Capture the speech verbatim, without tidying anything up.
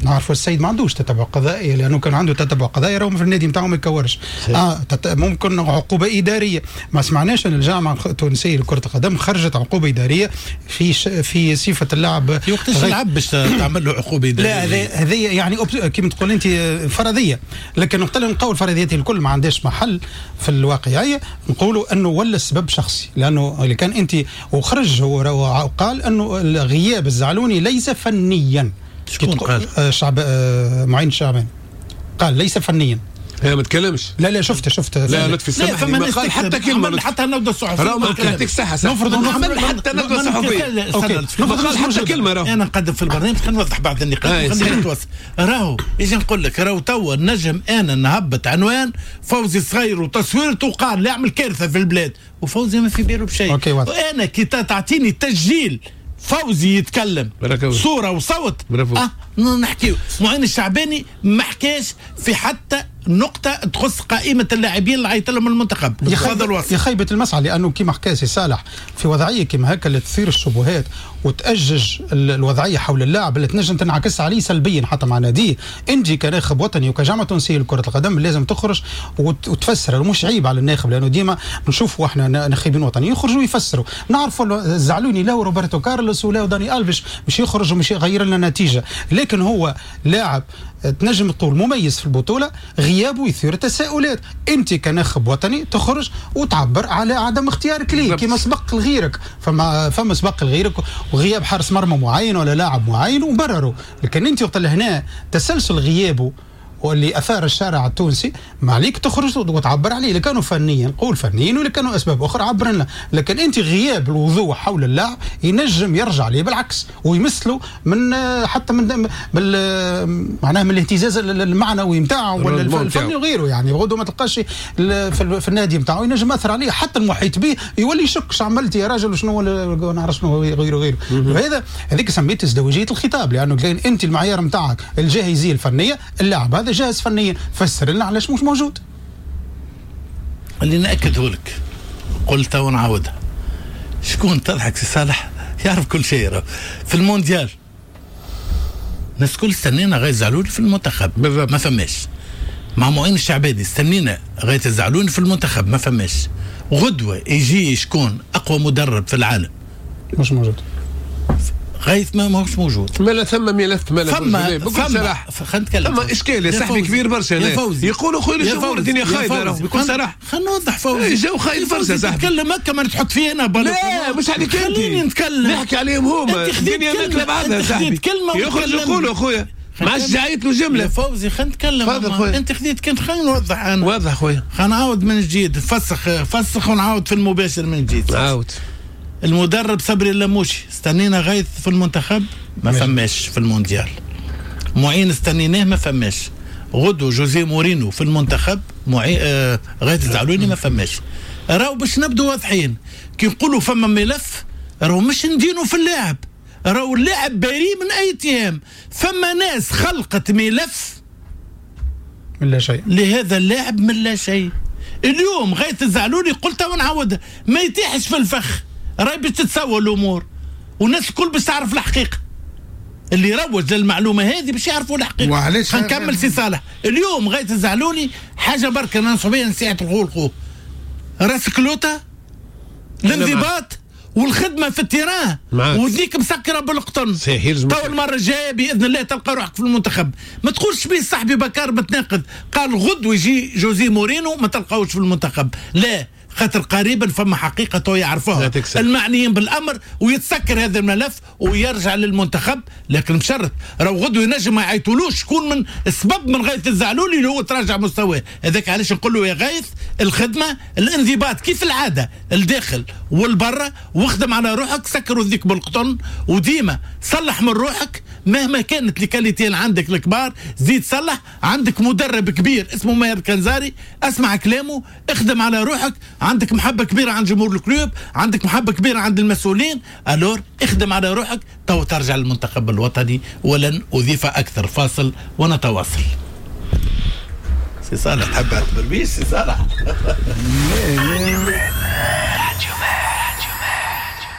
نعرفوا السيد ما عندوش تتبع قضائي، لانه كان عنده تتبع قضائي راهو في النادي نتاعو ما يكورش. اه تت... ممكن عقوبه ادارية، ما سمعناش ان الجامعة التونسية لكرة القدم خرجت عقوبه ادارية في ش... في صفة اللاعب. في وقتاش لعب باش تعمل له عقوبه ادارية؟ لا هذه يعني كيما تقول انت فرضية، لكن وقت اللي نقول الفرضيات الكل ما عندهاش محل في الواقعية، نقولوا انه ولا السبب شخصي، لانه اللي كان انت وخرج هو وقال انه غياب الزعلوني ليس فنيا. شكون قال؟ شعب معين الشعباني قال ليس فنيا. هي ما تكلمش. لا لا شفت شفت لا لطفي سامحني ما قال حتى كلمة، حتى الندوة الصحفية راه يعطيك الصحة. نفرض عمل حتى الندوة الصحفية OK، ما قال حتى كلمة. راهو انا نقدم في البرنامج خلينا نوضح بعض النقاط خلينا نتواصل. راهو اجي نقول لك راهو توا نجم انا نهبط عنوان فوزي صغير وتصويرته وقال لا يعمل كارثة في البلاد، وفوزي ما في باله بشيء. وانا كي تعطيني تسجيل فوزي يتكلم صورة وصوت أه نحكيو. معين الشعباني ما حكاش في حتى نقطة تخص قائمة اللاعبين اللي عيط لهم المنتخب. يا خيبة المسعى، لأنه كما حكى سي صالح في وضعية كما هكا اللي تثير الشبهات وتأجج الوضعية حول اللاعب اللي تنجم تنعكس عليه سلبيا حتى مع ناديه. أنت كناخب وطني وكجامعة تونسية لكرة القدم لازم تخرج وتفسر، مش عيب على الناخب، لأنه ديما نشوفوا احنا ناخبين وطنيين يخرجوا يفسروا. نعرفوا الزعلوني لا روبرتو كارلوس ولا داني ألفيش مش يخرج ومش يغير لنا نتيجة، لكن هو لاعب تنجم تقول مميز في البطولة، غيابه يثير تساؤلات. انت كناخب وطني تخرج وتعبر على عدم اختيارك ليه كما سبق لغيرك، فما فما سبق لغيرك وغياب حارس مرمى معين ولا لاعب معين وبرروا، لكن انت وقت هنا تسلسل غيابه واللي اثار الشارع التونسي ما عليك تخرج وتعبر عليه. اللي كانوا فنيا قول فنيا، واللي كانوا اسباب اخرى عبر لنا، لكن انت غياب الوضوح حول اللاعب ينجم يرجع ليه بالعكس ويمثله من حتى من معناها من الاهتزاز المعنوي نتاعو ولا الفني وغيره. يعني غدوه ما تلقاش في النادي نتاعو ينجم ياثر عليه، حتى المحيط به يولي يشك شو عملت يا راجل وشنو نعرف شنو غيره غيره. وهذا هذيك سميت ازدواجية الخطاب، لانه كاين انت المعيار نتاعك الجاهزيه الفنية، اللاعب هذا جاهز فنيا، فسر لنا علاش مش موجود. اللي ناكده لك قلتها ونعاودها، شكون تضحك سي صالح يعرف كل شيء. في المونديال الناس الكل استنينا غيث الزعلوني في المنتخب بالضبط. ما فماش. مع معين الشعباني استنينا غيث الزعلوني في المنتخب ما فماش. غدوه يجي شكون اقوى مدرب في العالم مش موجود، غيث ما ماهوش موجود. ما لا ثم ملف ما لا فما فما خلينا نتكلم، ثم اشكال يا صاحبي كبير برشا. يقولوا خويا الجمهور الدنيا خايبة بكل صراحة. خلينا نوضح فوزي جو خايب برشا صاحبي. تتكلم هكا ما تحط فيه انا بالك. لا مش عليك انت، خليني نتكلم نحكي عليهم هما. الدنيا ماكله بعضها صاحبي، يخرج يقولوا خويا ما عادش عيط له جملة. يا فوزي خلينا نتكلم. تفضل خويا. انت خذيت كنت خلينا نوضح انا. واضح خويا. خلينا نعاود من جديد، فسخ فسخ ونعاود في المباشر من جديد. عاود. المدرب صبري اللموشي استنينا غيث في المنتخب ما فماش في المونديال. معين استنيناه ما فماش. غدو جوزي مورينو في المنتخب معين آه غيث الزعلوني ما فماش. راهو باش نبدو واضحين كي نقولوا فما ملف راهو مش ندينو في اللاعب، راهو اللاعب بريء من اي اتهام. فما ناس خلقت ملف من لا شيء لهذا اللاعب من لا شيء. اليوم غيث الزعلوني قلتها ونعاودها ما يتيحش في الفخ، راهي باش تتسوى الامور والناس الكل باش تعرف الحقيقة. اللي روج للمعلومة هذه باش يعرفوا الحقيقة. وعلاش نكمل سي صالح. اليوم غيث الزعلوني حاجة بركة ننصح بها نصيحة الخو الخو راسك لوطه الانضباط والخدمة في ال terrain وذيك مسكره بالقطن. تو المرة الجاية باذن الله تلقى روحك في المنتخب. ما تقولش بيه صاحبي بكار متناقض قال غدوه يجي جوزي مورينو ما تلقاوش في المنتخب. لا خاطر قريبا فما حقيقة تو يعرفوها المعنيين بالأمر ويتسكر هذا الملف ويرجع للمنتخب. لكن بشرط راهو غدوة ينجم ما يعيطولوش شكون من السبب من غيث الزعلولي اللي هو تراجع مستواه. هذاك علاش نقول له يا غيث الخدمة الانضباط كيف العادة الداخل والبرة، واخدم على روحك، سكر وذيك بالقطن وديما صلح من روحك مهما كانت les qualités اللي عندك الكبار زيد صلح. عندك مدرب كبير اسمه ماهر كنزاري اسمع كلامه، اخدم على روحك. عندك محبة كبيرة عند جمهور ال club، عندك محبة كبيرة عند المسؤولين، alors اخدم على روحك تو ترجع للمنتخب الوطني. ولن أضيف أكثر. فاصل ونتواصل. سي صالح تحب تبربيش سي صالح؟